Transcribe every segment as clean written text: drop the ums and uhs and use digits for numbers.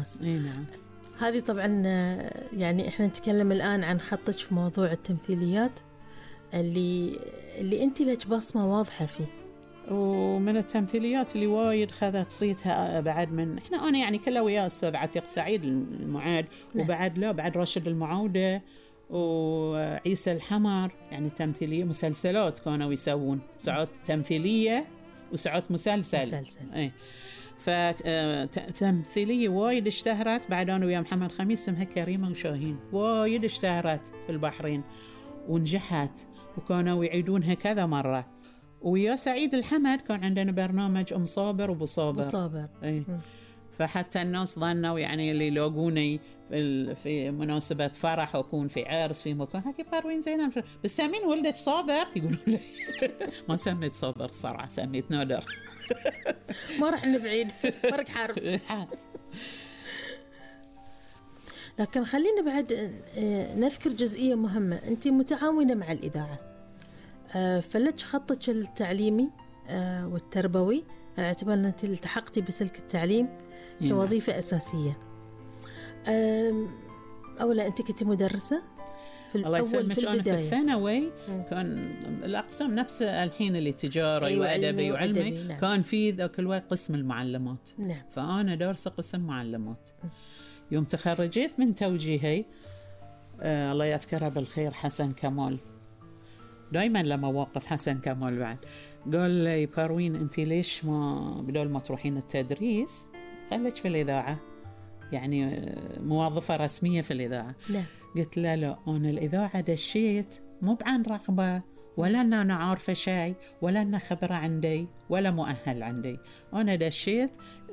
الناس. نعم. هذه طبعا يعني إحنا نتكلم الآن عن خطك في موضوع التمثيليات اللي أنت لك بصمة واضحة فيه. ومن التمثيليات اللي وايد خذت صيتها بعد من أنا يعني كلها ويا أستاذ عتيق سعيد المعاد. نعم. وبعد بعد راشد المعودة وعيسى الحمر، يعني تمثيلية مسلسلات كانوا يسوون ساعات تمثيلية وساعات مسلسل. فتمثيلية وايد اشتهرت. بعد أنا ويا محمد خميس اسمها كريمة وشاهين، وايد اشتهرت في البحرين ونجحت وكانوا يعيدونها كذا مرة. ويا سعيد الحمد كان عندنا برنامج أم صابر وأبو صابر. فحتى الناس ظنوا يعني اللي يلاقوني في مناسبة فرح أكون في عرس في مكان هكي باروين زينة بس سامين ولدك صابر؟ يقولون لي ما سميت صابر صراحة، سميت نادر. ما رح نبعيد فرق حرف. لكن خلينا بعد نذكر جزئية مهمة. أنت متعاونة مع الإذاعة، فلك خطك التعليمي والتربوي على اعتبار أن أنت التحقتي بسلك التعليم كوظيفة أساسية. أولا أنت كنت مدرسة في الله يسلمك. أنا في الثانوي كان الأقسام نفس الحين اللي تجارة وأدبي وعلمي. نعم. كان في ذاك الوقت قسم المعلمات. نعم. فأنا دارسة قسم معلمات. يوم تخرجت من توجيهي الله يذكره بالخير حسن كمال، دايما لما وقف حسن كمال بعد قال لي باروين أنت ليش ما بدل ما تروحين التدريس خليك في الإذاعة، يعني موظفة رسمية في الإذاعة. لا. قلت لا أنا الإذاعة دشيت مو بعن رغبة ولا أن أنا عارفة شيء ولا أن خبرة عندي ولا مؤهل عندي، أنا دشيت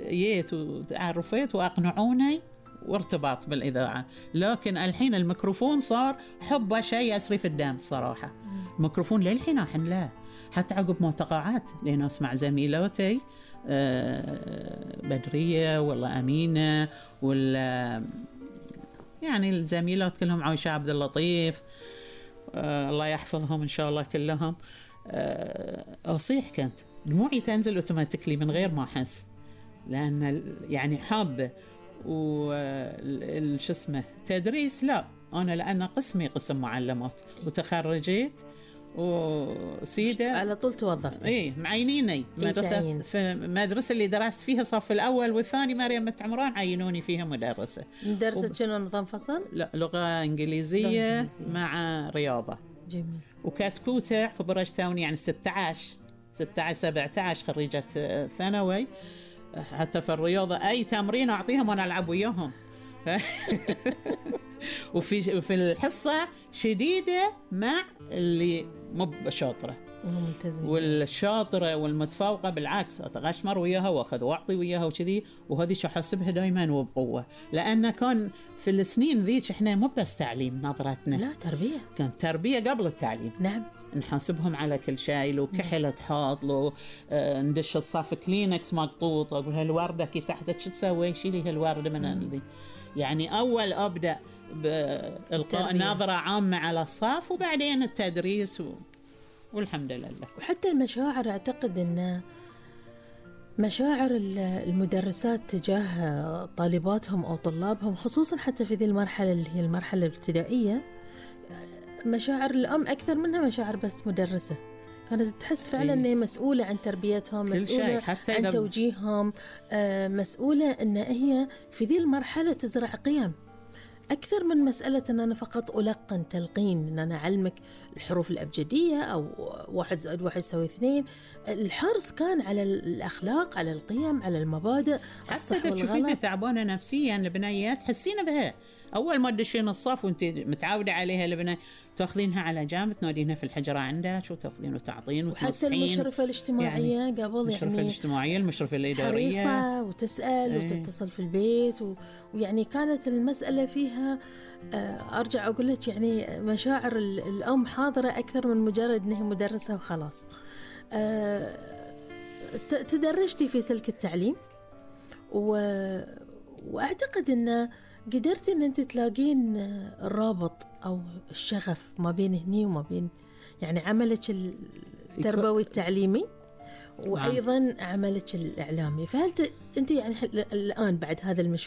جيت وتعرفت وأقنعوني وارتباط بالإذاعة. لكن الحين الميكروفون صار حبه شيء يسري في الدم صراحة. الميكروفون للحين أحن حتى عقب معتقعات لين أسمع زميلاتي بدرية والله أمينة ولا يعني الزميلات كلهم عايشة عبد اللطيف الله يحفظهم إن شاء الله كلهم. أصيح كانت دموعي تنزل أوتوماتيكلي من غير ما أحس، لأن يعني حابة وش اسمه تدريس. لا أنا لأن قسمي قسم معلمات وتخرجت وسيدة على طول توظفت. معينيني مدرسة في المدرسة اللي درست فيها صف الأول والثاني مريم عمران عينوني فيها مدرسة. شنو نظام فصل؟ لا لغة إنجليزية مع رياضة. جميل. وكاتكوتة خبرت توني يعني 16 17 خريجة ثانوي، حتى في الرياضة أي تمرين أعطيهم وأنا ألعب وياهم. وفي الحصة شديدة مع اللي مو شاطرة والشاطرة والمتفوقة بالعكس أتغشمر وياها وأخذ وأعطي وياها وكذي. وهذه شو حاسبها دائما وبقوة، لأن كان في السنين ذيك إحنا مو بس تعليم نظرتنا، لا تربية، كانت تربية قبل التعليم. نعم. نحاسبهم على كل شيء، لو كحلة حاط له ندش الصف كلينكس مقطوط أقول هالوردة كي تحتك شو تسوي شيلي هالوردة من ذي. يعني أول أبدأ بإلقاء نظرة عامة على الصف وبعدين التدريس والحمد لله. وحتى المشاعر أعتقد أن مشاعر المدرسات تجاه طالباتهم أو طلابهم خصوصا حتى في ذي المرحلة اللي هي المرحلة الابتدائية، مشاعر الأم أكثر منها مشاعر بس مدرسة. كانت تحس فعلا أنها مسؤولة عن تربيتهم، مسؤولة عن توجيههم، مسؤولة أن هي في ذي المرحلة تزرع قيم أكثر من مسألة أن أنا فقط ألقن تلقين، أن أنا أعلمك الحروف الأبجدية أو 1 زائد 1 يساوي 2. الحرص كان على الأخلاق، على القيم، على المبادئ، الصح والغلط. حتى تشوفينها تعبانة نفسيا البنيات تحسين بها أول ما تدشين الصف وأنت متعودة عليها البنية تأخذينها على جنب تنادينها في الحجرة عندك وتأخذين وتعطين وتنصحين. وحتى المشرفة الاجتماعية يعني قبل المشرفة الاجتماعية المشرفة الإدارية حريصة وتسأل وتتصل في البيت ويعني كانت المسألة فيها أرجع أقول لك يعني مشاعر الأم حاضرة أكثر من مجرد أنها مدرسة وخلاص. تدرجتي في سلك التعليم وأعتقد أن قدرتي أن أنت تلاقين الرابط أو الشغف ما بين هني وما بين يعني عملك التربوي التعليمي وأيضا عملك الإعلامي. فهل أنت يعني الآن بعد هذا المشوار